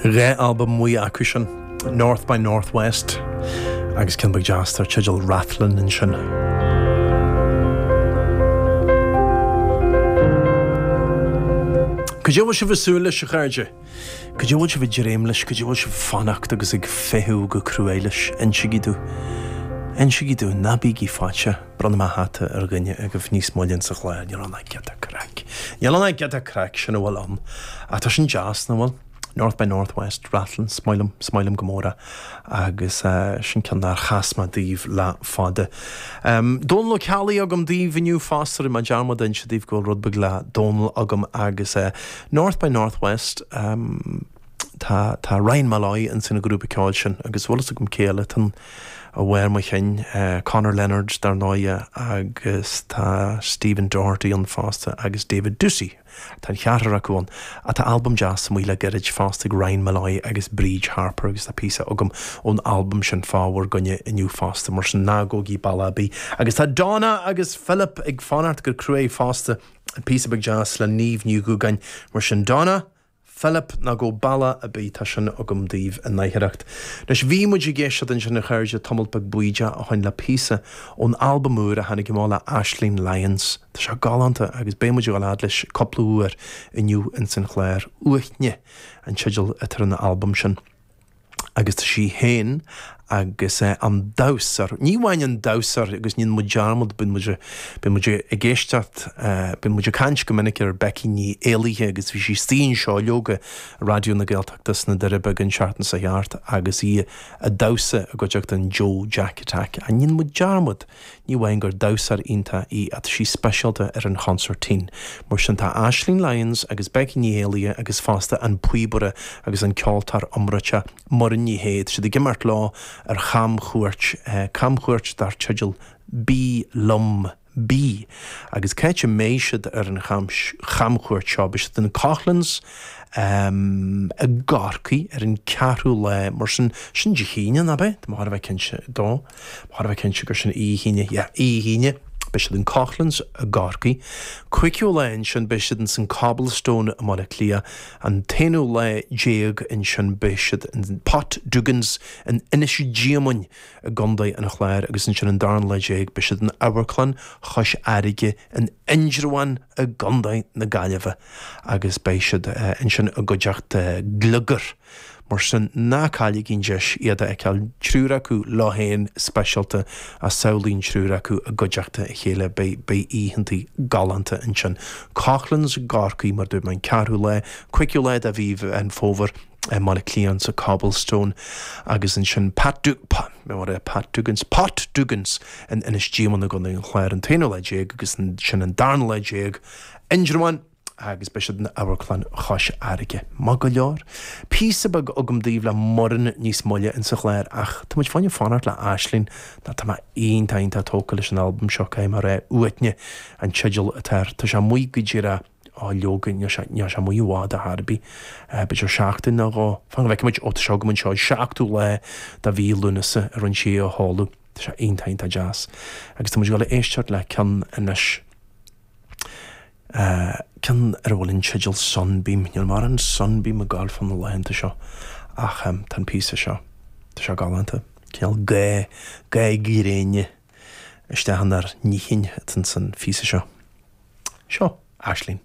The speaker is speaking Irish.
2 albam amuigh acu sin, North by North West agus ceann beag deas dar teideal Rathlin ansin. Cad é a bhfuil sibh ag súil leis, a chairde? Cad é a bhfuil sibh ag dréim leis? Cad é a bhfuil sibh ag fanacht agus ag feitheamh go cruaidh leis? Insigí domh. Insigí domh, ná bígí faitíoch. Bronnfaidh mé hata ar dhuine agaibh níos moille insa chlár. Níl ann ach giota craic. Níl ann ach giota craic, sin a bhfuil ann. Ach tá sin deas, nach bhfuil? North by North West, Rathlin, is maith liom, is maith liom go mór é. Agus sin ceann nár chas mé daoibh le fada. Dónal Ó Ceallaigh agam daoibh inniu fosta, rinne mé dearmad a inse daoibh go bhfuil rud beag le Dónal agam agus North by North West, tá, tá Ryan Molloy ins an ghrúpa ceoil sin agus bhfuil fhios agam cé eile atá ann i bharr mo chinn, Conor Leonard dar ndóighe agus tá Stephen Doherty ann fosta agus David Doocey. Tá an cheathrar acu ann. Ach tá albam deas amuigh le gairid fosta ag Ryan Molloy agus Bríd Harper agus tá píosa agam ón albam sin fá bhur gcoinne inniu fosta, mar sin ná gabhaigí bealach ar bith. Agus tá Donna agus Philip ag fanacht go cruaidh fosta, píosa beag deas le Niamh Ní Dhúgáin, mar sin Donna, Philip, ná gabh bealach ar bith, tá sin agam daoibh in oidhreacht. Anois, bhí muid ag éisteacht ansin, a chairde, tamalt beag bídeach ó shin le píosa ón albam úr a tháinig amach le Aisling Lyons. Tá sé galánta agus beidh muid ag dul fhad leis cúpla uair inniu ins an chlár. Uaithne an teideal atá ar an albam sin. agus tá sí féin agus an damhsóir, ní amháin an damhsóir agus ní dhéanann muid dearmad, bíonn muid, bíonn muid ag éisteacht, bíonn muid ag caint go minic ar Becky Ní Éallaithe agus bhí sí istigh anseo leoga i Raidió na Gaeltachta sna Doirí Beaga an tseachtain seo thart agus í ag damhsa i gcuideachta an Joe Jack Attack. Ní dhéanann muid dearmad. Ní amháin gur damhsóir iontach í ach tá sí speisialta ar an chonsairtín. Mar sin tá Aisling Lyons agus Becky Ní Éallaithe agus fosta an píobaire agus an ceoltóir iomráiteach Muireann Ní Shé, tá siad ag imeacht leo ar chamchuairt, camchuairt dar teideal Bí Liom, Bí. Agus cá háit a mbeidh siad ar an chamchuairt seo? Beidh siad in Coughlan's i gCorcaigh ar an ceathrú lá, mar sin, sin Dé hAoine, nach ea? Tá mé chóir a bheith cinnte dó. Chóir a bheith cinnte gur sin Dé hAoine, yeah, Dé hAoine, beidh siad in Coughlan's i gCorcaigh. Cúigiú lá ansin beidh siad ins an Cobblestone i mBaile Átha Cliath. An t-aonú lá déag ansin beidh siad in Pat Duggan's in Inis Díomaoin i gContae an Chláir agus ansin an darna lá déag beidh siad in Amharclann Chois Fharraige in Indreabhán i gContae na Gaillimhe agus beidh siad ansin i gcuideachta Gliogar. Mar sin, ná cailligí an deis iad a fheiceáil, triúr acu leo féin speisialta, ach samhlaigh an triúr acu i gcuideachta a chéile, beidh, beidh oícheantaí galánta ansin. Coughlan's i gCorcaigh, mar a dúirt mé, an ceathrú lá, cúigiú lá de mhí Mheán Fómhair i mBaile Átha Cliath sa Cobblestone agus ansin Pat Du, Pa, what a, Pat Duggan's, Pot Duggan's in Inis Díomaoin i gContae an Chláir an t-aonú lá déag agus ansin an darna lá déag, Indreabhán. agus beidh siad in Amharclann Chois Fharraige. Maith go leor. Píosa beag agam daoibh le Muireann níos moille insa chlár ach tá muid fá choinne fanacht le Aisling nó tá mé iontach iontach tógtha leis an albam seo, caithfidh mé a rá. Uaithne an teideal atá air. Tá sé amuigh go díreach, á leoga, níl sé, níl sé amuigh i bhfad ar chor ar bith. B'fhéidir seachtain nó dhó. Fan go bhfeicfidh muid, ó tá sé agam anseo, an seachtú lá de mhí Lúnasa a rinne sí é a sheoladh. Tá sé iontach iontach deas. Agus tá muid ag dul a éisteacht le ceann anois. Ceann ar a bhfuil an teideal Sunbeam. Níl mórán Sunbeam ag gabháil fá na laethanta seo ach tá an píosa seo, tá sé galánta. Cineál ga, ga gréine isteach inár ndíthinn atá ins an phíosa seo. Seo Aisling.